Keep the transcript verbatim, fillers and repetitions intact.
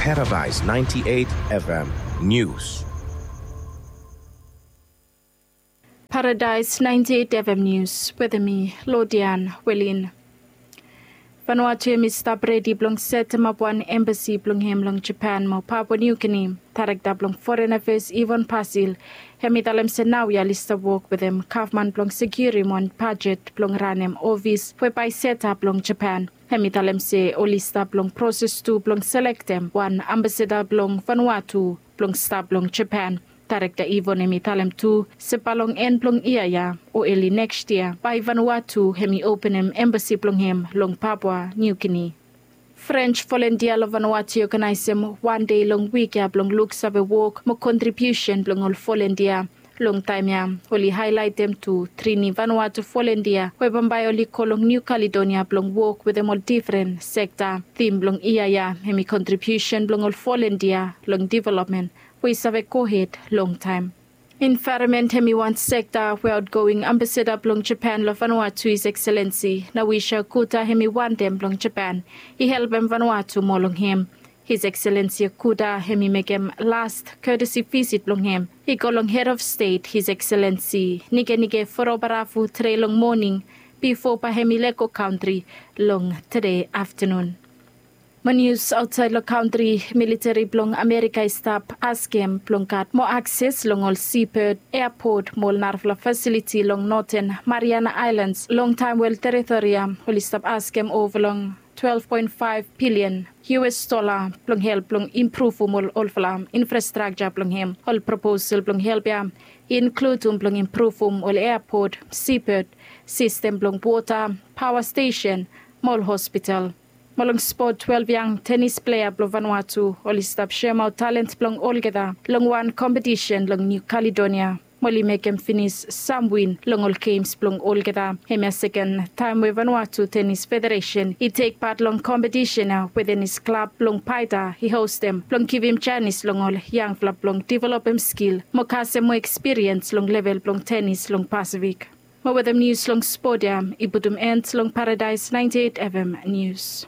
Paradise ninety-eight F M News. Paradise ninety-eight F M News wetem mi, Lodian Welin. Vanuatu hemi stap redi blong setemap wan embasi blong hem long Japan mo Papua New Guinea. Daerekta blong Foreign Affairs Ivan Pasil hemi talem se naoia oli stap wok wetem gavman blong sekiurim wan bajet blong ranem ofis we bae i setap long Japan. Hemi talem se oli stap long proses tu blong selektem wan ambasada blong Vanuatu blong stap long Japan. Daerekta Ivan hemi talem tu se bae long en blong yia ya o eli neks yia bae Vanuatu hemi openem embasi blong hem long Papua New Guinea. French volontia long Vanuatu i oganaesem wan dei long wik ya blong luksave wok mo kontribiusen blong ol volontia. Long taem ya oli haelaetem tu tri ni Vanuatu volontia we bambae oli go long New Caledonia blong wok wetem ol difren sekta. Tim blong yia ya hemi kontribiusen blong ol volontia long developmen we i save gohed longtaem. Envaeronmen hemi wan sekta we aotgoing ambasada blong Japan long Vanuatu, His Excellency Naoshi Okuda, hemi wantem blong Japan i helpem Vanuatu moa long hem. His Excellency Okuda hemi mekem las kotesi visit blong hem i go long Head of State His Excellency Nikenike Vurobaravu tede long moning bifo bae hemi lego kantri long tede aftanun. Mo nius aotsaed long kantri, militeri blong Amerika i stap askem blong gat moa akses long ol sibod, eapot mo ol narafala fasiliti long Noten Mariana Aelans. Longtaem we ol teritori ya oli stap askem ova long twelef poen faef bilian U S dola blong help blong impruvum ol olfala infrastrakja blong hem. Ol proposal blong help ya i inkludum blong impruvum ol eapot, sibod, sistem blong wota, paoa stesen mo ol hospital. Mo long spot, twelef yang tenis plea blong Vanuatu oli stap seemaot talent blong olgeta long wan kompetisen long New Caledonia mo oli mekem finis sam win long ol gems blong olgeta. Hemia seken taem we Vanuatu Tenis Federesen i tek pat long kompetisen ya we tenis klab blong Paita i hostem blong givim janis long ol yangfala blong developem skil mo kasem moa ekspiriens long level blong tenis long Pasifik. Mo wetem nius long spot ya i putum en long Paradise ninety-eight F M Nius.